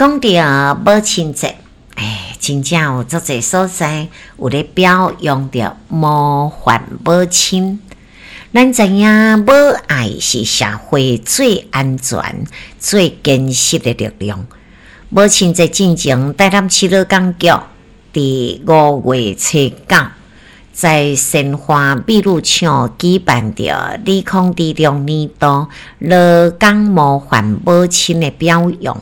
講著母親節，欸，真正有足濟所在有咧表揚著模範母親。咱知影母愛是社會最安全、最堅實的力量。母親節進前，台南市勞工局佇5月初9，在鮮花美女廠舉辦著2026年度勞工模範母親的表揚。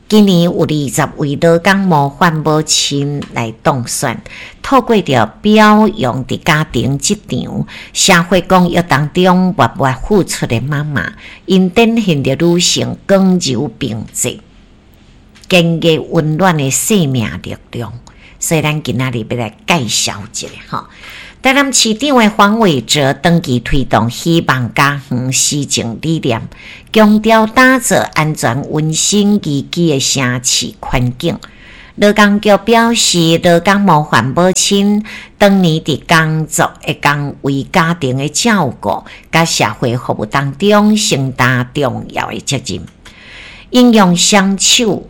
今年有20位勞工模範母親來當選，透過著表揚佇家庭、職場、社會公益當中默默付出的媽媽，𪜶展現著女性剛柔並濟、堅毅溫暖的生命力量。所以，咱今仔日欲來介紹一下吼。台南市長的黃偉哲長期推動希望家園施政理念，強調打造安全、溫馨、宜居的城市環境。勞工局表示，勞工模範母親當年佇工作的崗位、家庭的照顧，佮社會服務當中承擔重要的責任。𪜶用雙手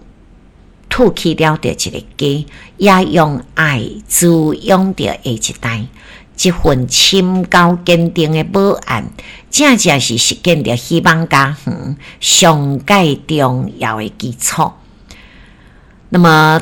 托起了著一個家，也用愛滋養著下一代。這份深厚堅定的母愛，正正是實踐著希望家園上蓋重要的基礎。那麼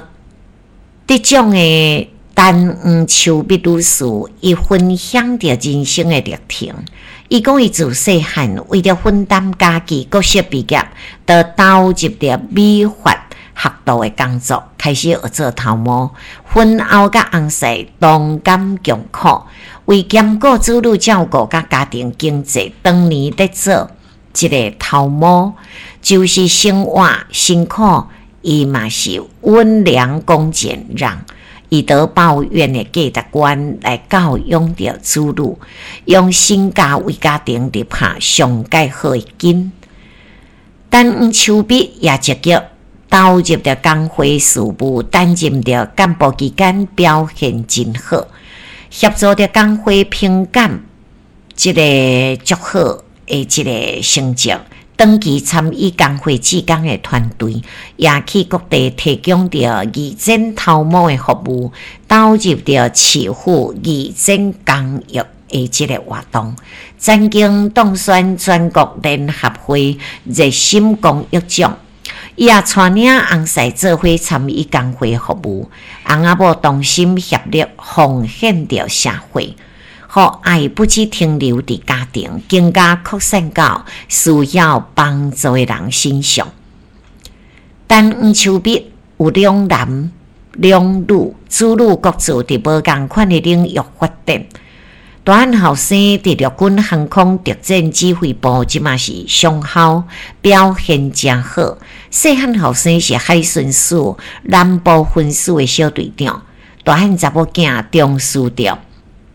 得獎的陳黃秋蜜女士，伊分享著人生的歷程。伊講，伊自細漢為著分擔家計，國小畢業，就投入著美髮學徒的工作，開始學做頭毛。婚後佮翁婿同甘共苦，為兼顧子女照顧佮家庭經濟，當年咧做這个頭毛，就是生活辛苦，伊嘛是溫良恭儉讓，以德報怨的價值觀來教養著子女，用身教為家庭立下上蓋好的根。陳黃秋蜜也積極投入著工會事務，擔任著幹部期間表現真好，協助著工會評鑑這个足好的這个成績。長期參與工會志工的團隊，也去各地提供著義剪頭毛的服務，投入著市府義剪公益的這个活動，曾經當選全國聯合會熱心公益獎。伊也帶領翁婿做伙參與工會服務，翁仔某同心協力奉獻著社會，予愛不只停留佇家庭，更加擴散到需要幫助的人身上。陳黃秋蜜有兩男兩女，子女各自佇無仝款的領域發展。大漢後生佇陸軍航空特戰指揮部，這馬是上校，表現誠好。細漢後生是海巡署南部分署的小隊長。大漢查某囝重視著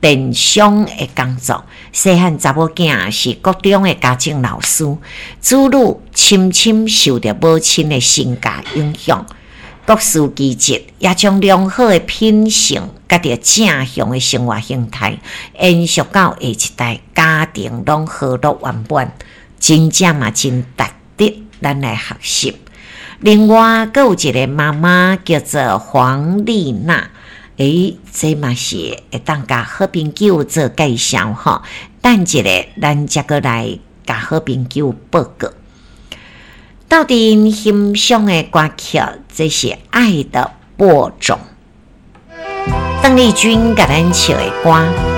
電商的工作，細漢查某囝是國中的家政老師。子女深深受著母親的身教影響，各司其職，也將良好的品性佮著正向的生活形態延續到下一代，家庭攏和樂圓滿，真正嘛真值得咱來學習。另外，閣有一个媽媽叫做黃麗娜，欸，這嘛是會當共好朋友做介紹吼。等一下，咱才閣來共好朋友報告。鬥陣欣賞的歌曲，這是《愛的播種》。鄧麗君共咱唱的歌。